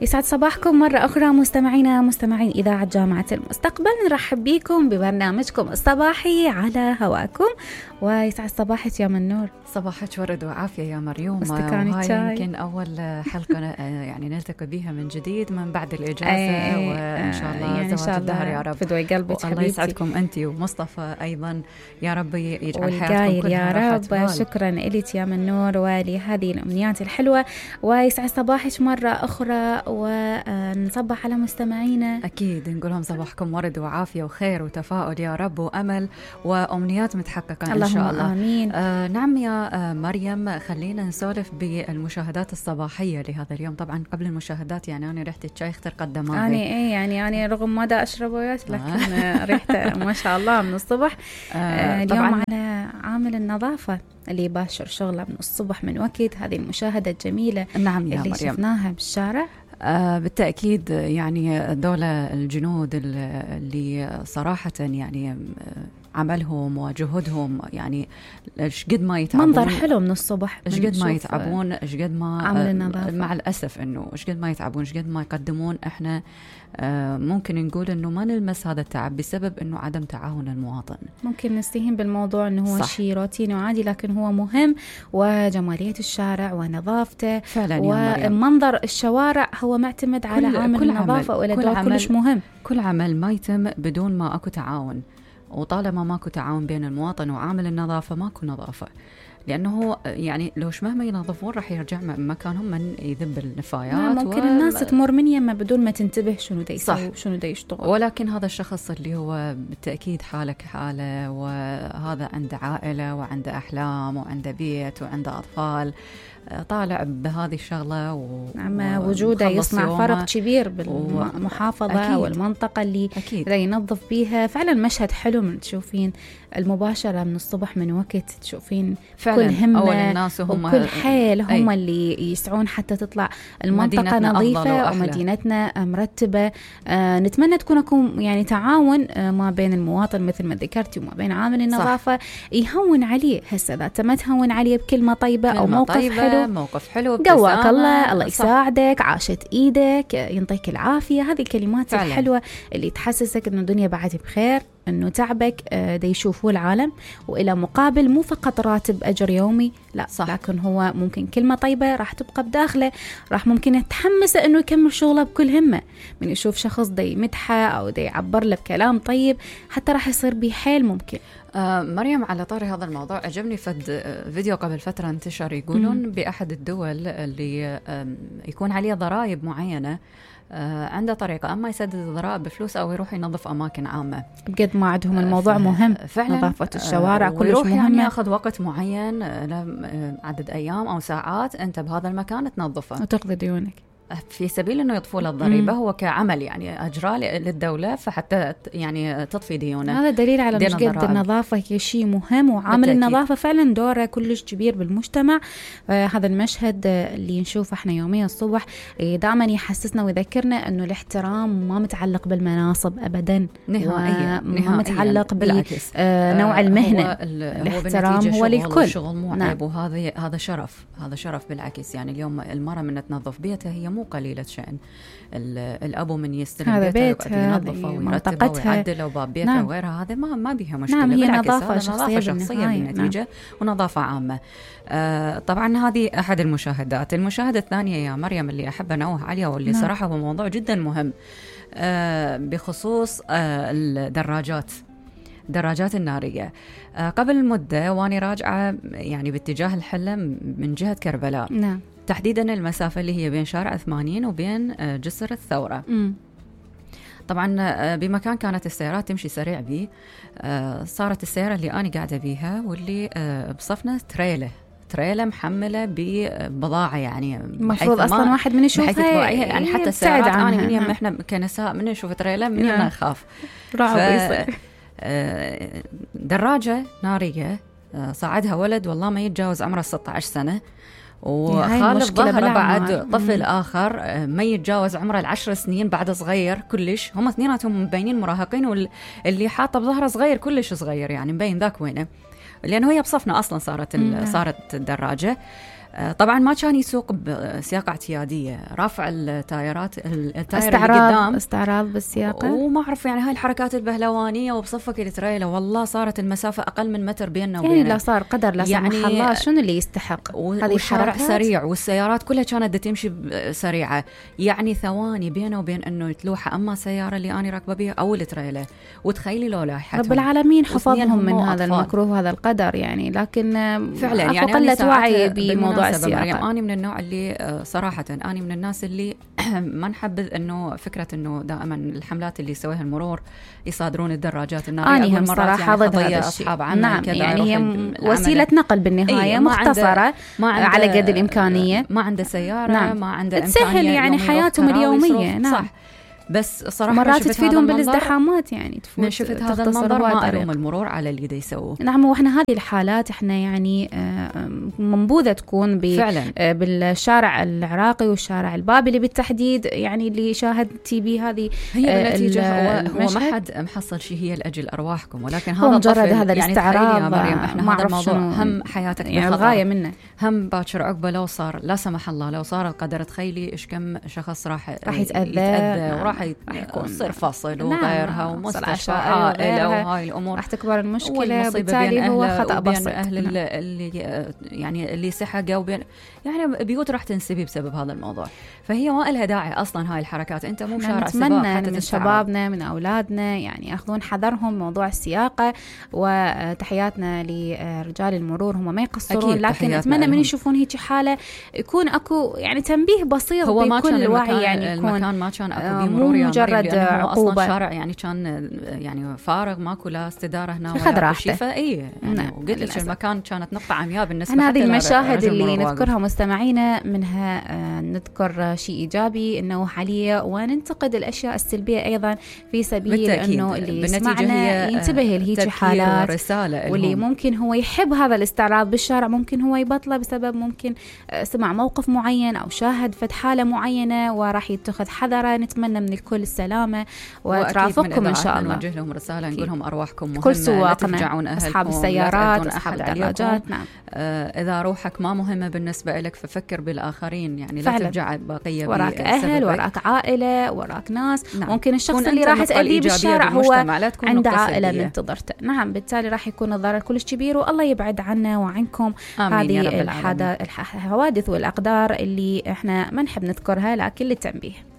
يسعد صباحكم مرة أخرى مستمعين إذاعة جامعة المستقبل. نرحب بكم ببرنامجكم الصباحي على هواكم، ويسعد صباحك يا منور. صباحك ورد وعافية يا مريوم. وهاي يمكن أول حلقة يعني نلتقي بها من جديد من بعد الإجازة، وإن شاء الله يعني زواج الدهر يا رب. فدوي قلبك الله يسعدكم أنت ومصطفى أيضا، يا رب يجعل حياتكم كلها راحة رب بال. شكرا لك يا منور ولهذه الأمنيات الحلوة، ويسعد صباحك مرة أخرى، ونصبح على مستمعينا. أكيد نقولهم صباحكم ورد وعافية وخير وتفاؤل يا رب، وأمل وأمنيات متحققة إن شاء الله. آمين. نعم يا مريم، خلينا نسولف بالمشاهدات الصباحية لهذا اليوم. طبعا قبل المشاهدات يعني أنا ريحة الشاي اخترقت دماغي. يعني رغم ما دا أشرب وياك لكن ريحته ما شاء الله من الصبح. اليوم على عامل النظافة اللي يباشر شغله من الصبح من وقت هذه المشاهدة الجميلة. نعم يا اللي مريم، شفناها بالشارع. بالتأكيد يعني دولة الجنود اللي صراحة يعني عملهم وجهودهم يعني قد ما يتعبون. منظر حلو من الصبح، قد ما يتعبون، قد ما عمل النظافة. مع الأسف إنه قد ما يتعبون، قد ما يقدمون. إحنا ممكن نقول إنه ما نلمس هذا التعب بسبب إنه عدم تعاون المواطن. ممكن نستهين بالموضوع إنه هو شيء روتيني وعادي، لكن هو مهم، وجمالية الشارع ونظافته فعلا ومنظر الشوارع هو معتمد على عامل النظافة، ولا كلش مهم. كل عمل ما يتم بدون ما أكو تعاون، وطالما ماكو تعاون بين المواطن وعامل النظافة ماكو نظافة، لأنه يعني لوش مهما ينظفون راح يرجع مكانهم من يذب النفايات. ممكن الناس تمر من يمه بدون ما تنتبه شنو دا يسوي شنو دا يشتغل. ولكن هذا الشخص اللي هو بالتأكيد حاله كحاله، وهذا عنده عائلة وعنده أحلام وعنده بيت وعنده أطفال، طالع بهذه الشغلة وجوده يصنع فرق كبير بالمحافظة والمنطقة اللي ينظف بيها. فعلا مشهد حلو من تشوفين المباشرة من الصبح من وقت، تشوفين كل همة وكل حيل هم اللي يسعون حتى تطلع المنطقة نظيفة ومدينتنا مرتبة. نتمنى تكون يعني تعاون ما بين المواطن مثل ما ذكرتي وما بين عامل النظافة، يهون عليه. هسه إذا ما تهون عليه بكلمة طيبة أو موقف حلو قواك الله يساعدك، عاشت إيدك، ينطيك العافية، هذه الكلمات فعلا الحلوة اللي تحسسك إنه الدنيا بعد بخير، إنه تعبك دا يشوفوه العالم، وإلى مقابل مو فقط راتب أجر يومي، لا لكن هو ممكن كلمة طيبة راح تبقى بداخله، راح ممكن يتحمس إنه يكمل شغله بكل همة. من يشوف شخص دا يمدحه أو دا يعبر له بكلام طيب حتى راح يصير بيه حيل ممكن. مريم، على طاري هذا الموضوع عجبني فيديو قبل فترة انتشر، يقولون بأحد الدول اللي يكون عليه ضرائب معينة، عنده طريقة أما يسدد الضرائب بفلوس أو يروح ينظف أماكن عامة. بقد ما عندهم الموضوع مهم فعلا، نظافة الشوارع كلش مهمة. يعني ياخذ وقت معين، عدد أيام أو ساعات أنت بهذا المكان تنظفه وتقضي ديونك في سبيل انه يطفوا له الضريبه. هو كعمل يعني اجراء للدوله، فحتى يعني تطفي ديونه. هذا دليل على مش قد النظافه شيء مهم، وعامل النظافه فعلا دوره كلش كبير بالمجتمع. هذا المشهد اللي نشوفه احنا يوميا الصبح دائما يحسسنا ويذكرنا انه الاحترام ما متعلق بالمناصب ابدا نهائيا، ما متعلق بنوع المهنه. الاحترام هو للكل، شغل مو عيب، وهذا شرف، هذا شرف بالعكس. يعني اليوم المرأة من تنظف بيتها هي مو قليلة شأن. الأبو من يستلم بيتها ينظفه ويرتبه ويعدله وباب بيته وغيرها، هذا ما بيها مشكلة. هي نظافة شخصية بالنتيجة ونظافة عامة. طبعا هذه أحد المشاهدات. المشاهدة الثانية يا مريم اللي أحب أنوه عليها واللي صراحة هو موضوع جدا مهم، بخصوص الدراجات النارية. قبل مدة واني راجعة يعني باتجاه الحلة من جهة كربلاء، تحديدا المسافة اللي هي بين شارع 80 وبين جسر الثورة. طبعا بمكان كانت السيارات تمشي سريع بيه، صارت السيارة اللي أنا قاعدة بيها واللي بصفنا تريلة محملة ببضاعة، يعني المفروض أصلا واحد من يشوفها يعني حتى السيارات أنا من يم إحنا كنساء من نشوف تريلة من يم نخاف. دراجة نارية صعدها ولد والله ما يتجاوز عمره 16 سنة، وخالف ظهره بعد طفل آخر ما يتجاوز عمره 10 سنين بعد صغير كلش. هم اثنيناتهم مبينين مراهقين، واللي حاطه بظهره صغير كلش صغير، يعني مبين ذاك وينه، لأنه هي بصفنا أصلا صارت الدراجة. طبعا ما كان يسوق بسياقة اعتيادية، رافع التايرات التاير اللي قدام استعراض بالسياقة، وما أعرف يعني هاي الحركات البهلوانية، وبصفك التريلا والله صارت المسافة أقل من متر بيننا وبينه. يعني لا صار قدر لا يعني سمح الله، شنو اللي يستحق هذه الشارع سريع والسيارات كلها كانت تمشي سريعة، يعني ثواني بينه وبين أنه يتلوحة أما سيارة اللي أنا راكبة بيها أو التريلا. وتخيلي لو لاحتهم رب العالمين حفظهم من هذا المكروه وهذا القدر يعني. لكن فعلا يعني قلة وعي بموضوع السياقة. أنا من النوع اللي صراحة أنا من الناس اللي ما نحبذ أنه فكرة أنه دائما الحملات اللي يسويها المرور يصادرون الدراجات النارية. أنا هم صراحة ضد هذا الشيء. نعم يعني هي وسيلة نقل بالنهاية مختصرة على قد الإمكانية، ما عنده سيارة. نعم. ما عنده تسهل يعني حياتهم اليومية. نعم صح. بس صراحة مرات تفيدهم بالازدحامات يعني من شفت هذا المنظر ما ألوم المرور على اللي دا يسووه. نعم وإحنا هذه الحالات إحنا يعني منبوذة تكون بالشارع العراقي والشارع البابلي بالتحديد، يعني اللي شاهدتي به هذه هي بالنتيجة هو ما حد محصل شيء هي لأجل أرواحكم، ولكن هذا مجرد هذا الاستعراض. يعني مريم احنا هذا الموضوع هم حياتك يعني الغاية منه، هم باكر عقبه لو صار لا سمح الله لو صار القدر، تخيلي إيش كم شخص راح يتأذى وراح يصير فصل وغيرها ومستشفى عائلة وهاي الأمور راح تكبر المشكلة. بالتالي هو خطأ بسيط أهل اللي يعني اللي سحقوا وبين يعني بيوت راح تنسبي بسبب هذا الموضوع. فهي ما لها داعي أصلا هاي الحركات. أنت مو شارع سباق حتى من شبابنا من أولادنا يعني يأخذون حذرهم موضوع السياقة، وتحياتنا لرجال المرور هم ما يقصرون، لكن أتمنى من يشوفون هيك حالة يكون أكو يعني تنبيه بسيط بكل الوعي. يعني المكان ما كان أكو بمرور مجرد عقوبة، أصلا شارع يعني كان يعني فارغ ماكو لا استدارة هنا ولا شيء. فإيه يعني وقلت لك المكان كانت نقطة عمياء بالنسبة هذه المشاهد اللي نذكرها مستمعينا منها نذكر شيء إيجابي إنه حاليا، وننتقد الأشياء السلبية أيضا في سبيل إنه اللي يسمعنا ينتبه لهيك حالات، واللي ممكن هو يحب هذا الاستعراض بالشارع ممكن هو يبطله بسبب ممكن سمع موقف معين أو شاهد فد حالة معينة وراح يتخذ حذره. نتمنى من الكل السلامة وترافقكم إن شاء الله. نوجه لهم رسالة نقول لهم أرواحكم مهمة، كل سواقنا أصحاب السيارات أصحاب الدراجات. نعم إذا روحك ما مهمة بالنسبة لك ففكر بالآخرين، يعني لا ترجع بقية وراك أهل وراك عائلة وراك ناس. نعم. ممكن الشخص اللي راح تأذيه بالشارع هو عنده عائلة منتظرته. نعم بالتالي راح يكون الضرر كلش كبير، والله يبعد عنا وعنكم هذه الحوادث والأقدار اللي احنا ما نحب نذكرها لكن للتنبيه.